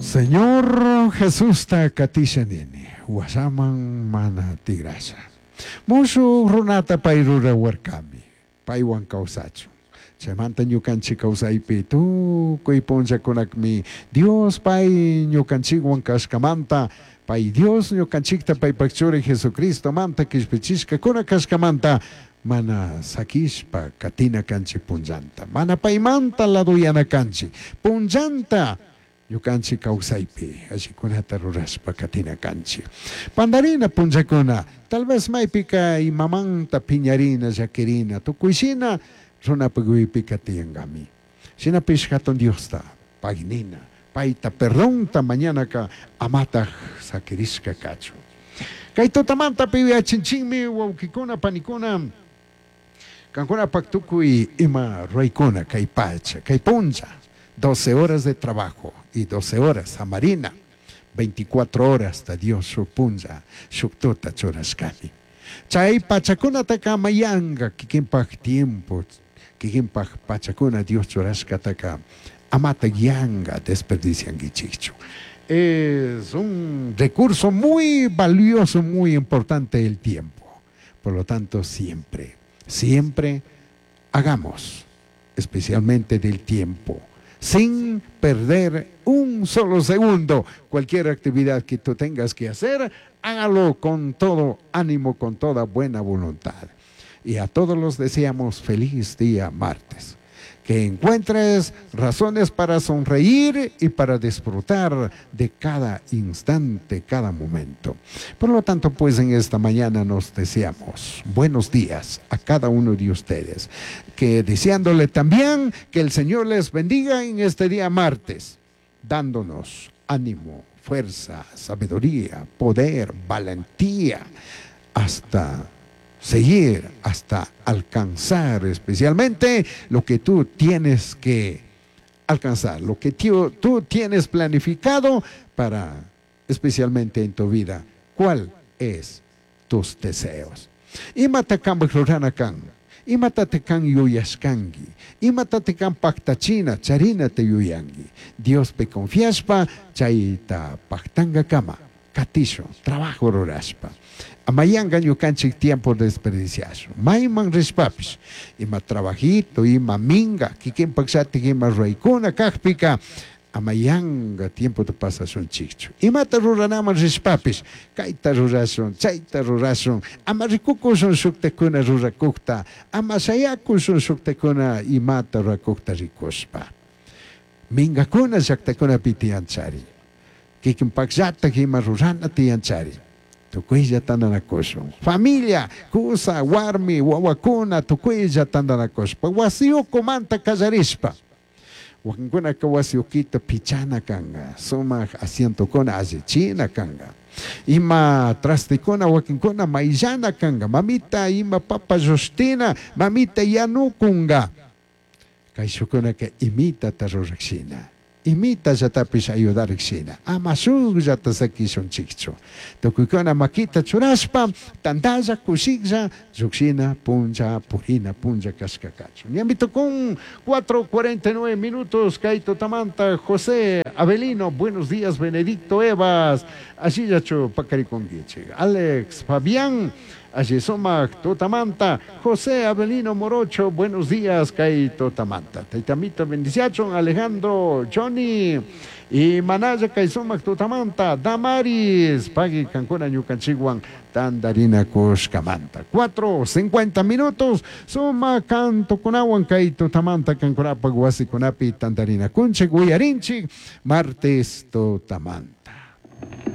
Señor Jesusta katisha nini, washaman mana tigrasha. Mushuj runata pay rurawarkami, paywan kawsachun. Chaymanta ñukanchik kawsaypi tukuy punllakunakmi Dios pay ñukanchikwan kashkamanta, pay Dios ñukanchikta paypak churi Jesucristomanta kishpichishkakuna kashkamanta mana sakishpa katina kanchik punllanta, mana paymanta laduyana kanchik punllanta ñukanchik kawsaypi allikunata rurashpa katina kanchik. Pandarina punllakuna, tal vez maypika imamanta piñarina, llakirina, tukuyshina runapak uypika tiyankami. Shinapish hatun Diosta pagnina, payta perdonta mañanaka amataj sakirishka kachun. Kay tutamanta yuyachinchikmi wawkikuna panikuna, kankunapak tukuy ima ruraykuna kay pacha, kay punlla, 12 horas de trabajo y 12 horas samarina, 24 horas ta Dios shuk punlla, shuk tuta churashkami. Chay pachakunataka amayanga kikinpak tiempo, kikinpak pachakuna Dios churashkataka amata yanga desperdiciankichikchu. Es un recurso muy valioso, muy importante el tiempo. Por lo tanto, siempre, siempre hagamos, especialmente del tiempo, sin perder un solo segundo. Cualquier actividad que tú tengas que hacer, hágalo con todo ánimo, con toda buena voluntad. Y a todos los deseamos feliz día martes. Que encuentres razones para sonreír y para disfrutar de cada instante, cada momento. Por lo tanto, en esta mañana nos deseamos buenos días a cada uno de ustedes. Que deseándole también que el Señor les bendiga en este día martes, dándonos ánimo, fuerza, sabiduría, poder, valentía, hasta seguir, hasta alcanzar especialmente lo que tú tienes que alcanzar, lo que tú tienes planificado para, especialmente en tu vida. ¿Cuál es tus deseos? Imata kanpak rurana kan, imata te kan yuyashkanki, imata te kan paktachina, charina te yuyanki. Diospi confiashpa, chayta paktangakama, katishun, trabajo rurashpa. Amayanga ñukanchik tiempo desperdiciashun. Mayman rishpapish, ima trabajito, ima minga, kikinpak shatik ima ruraykuna kakpika, amayanga tiempota pasashunchikchu. Imata ruranaman rishpapish, kayta rurashun, chayta rurashun, ama rikukushun shuktakuna rurakukta, ama shayakushun shuktakuna imata rurakukta rikushpa. Mingakuna llaktakunapi tiyanchari. Kikinpakllatak ima rurana tiyanchari. Tukuylla tandanakushun. Familia, kusa, warmi, wawakuna, tukuylla tandanakushpa. Wasiyukumanta kallarishpa. Wakinkunaka wasiyukita pichana kanka, sumak asientokuna allichina kanka. Ima trastikuna wakinkuna mayllana kanka, mamita ima papa llushtina, mamita yanukunka. Kayshukunaka imitata rurakshina, imita llatapish ayudarikshina, ama shukllata sakishunchikchu. Tukuykuna makita churashpa, tantalla, kushiklla, llukshina, punlla, purina, punlla kashkakachu. Ñami tukun 4:49 minutos, kay tutamanta José Avelino, buenos días, Benedicto Evas, ashillachu pakarikunkichik. Alex Fabián, allí sumak tutamanta, José Avelino Morocho, buenos días, kay tutamanta. Taitamito bendiciachon, Alejandro, Johnny, y Manaya kay sumak tutamanta, Damaris, pagui kankuna ñukanchikwan tandarina kushkamanta. 4:50 minutos, suma kantukunawan kay tutamanta kankunapak wasikunapi tandarina kunchik, uyarinchik, martes tutamanta.